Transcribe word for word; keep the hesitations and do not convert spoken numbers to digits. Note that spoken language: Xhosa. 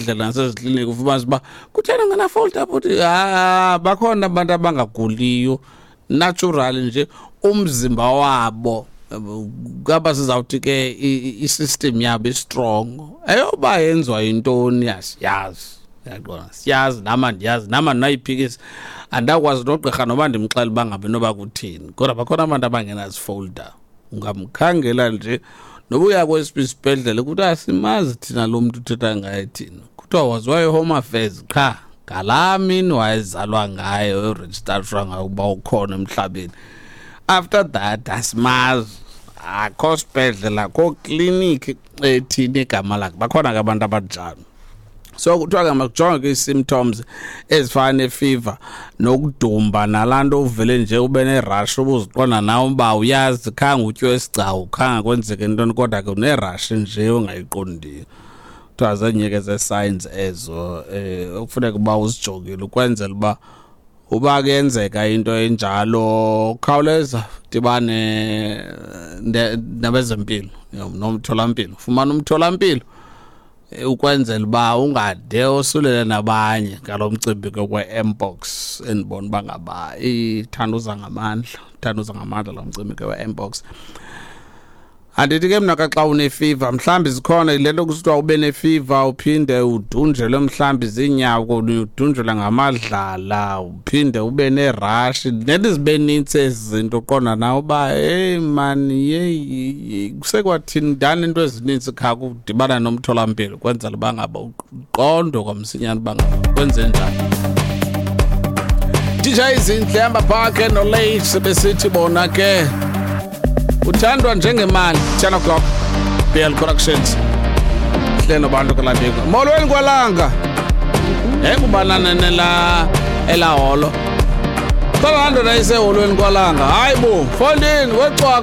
Ndlela nasezikliniki ufumanisa uba kutheni ungenafolda bhuti. Ah, bakhona abantu abangaguliyo natural nje, umzimba wabo kaba sizawuthi ke i-system yabo i-strong. Eyoba yenziwa yintoni asiyazi, uyaqonda? Siyazi nam, andiyazi nam, andinayiphikisa, andakwazi nogqirha noba ndimxele uba ngabe noba kuthini, kodwa bakhona abantu abangenazifolder. Ungamkhangela nje noba uya kwesiphi isibhedlele, kuthiwa asimazi thina lo mntu uthetha ngaye thina. Kuthiwa waziwa yi-Home Affairs qha ngalaa mini wayezalwa ngayo, erejistashwa ngayo ukuba ukhona emhlabeni. After that asimazi, akho sibhedlela, akho kliniki ethini igama lakhe. Bakhona ke abantu abanjalo. So kuthiwa ke makujonge ke ii-symptoms ezifana nefiva nokudumba, nalaa nto uvele nje ube nerash, ubuziqonda nawe uba uyazi khange utyiwe isigcawu, khange kwenzeke ntoni, kodwa ke unerash nje ongayiqondiyo. Kuthiwa zezinye ke zee-signs ezo um okufuneka uba uzijongile, ukwenzela uba uba kuyenzeka into enjalo khawuleza dibane nabezempilo nomtholampilo, fumana umtholampilo ukwenzela uba ungade osulele nabanye ngalo mcimbi ke we-mpox. Endibona uba ngaba ithanda uza ngamandla, ithanda uza ngamandla lo mcimbi ke we-mpox. Andithi ke mna ka xa unefiva, mhlawumbi zikhona yile nto kusithiwa ube nefiva uphinde udunjelwe mhlawumbi ziinyawo, udunjelwe ngamadlala, uphinde ube nerashi, nento zibe nintsi ezi zinto, uqonda nawe uba heyi mani, yeyi, kusekwathini ndani into ezinintsi. Kha kudibana nomtholampilo kwenzela uba ngaba uqondwe kwamsinyane uba ngaba kwenze njani. D J Izinhle hamba phakhe noLate besithi bona ke uthandwa njengemali. ten o'clock, B L Productions hle nobantu kalabiko. Molweni kwalanga, engubanana nela elaholo khona laa ndoda iseholweni kwalanga. Hayi bo, fondini wecwaka.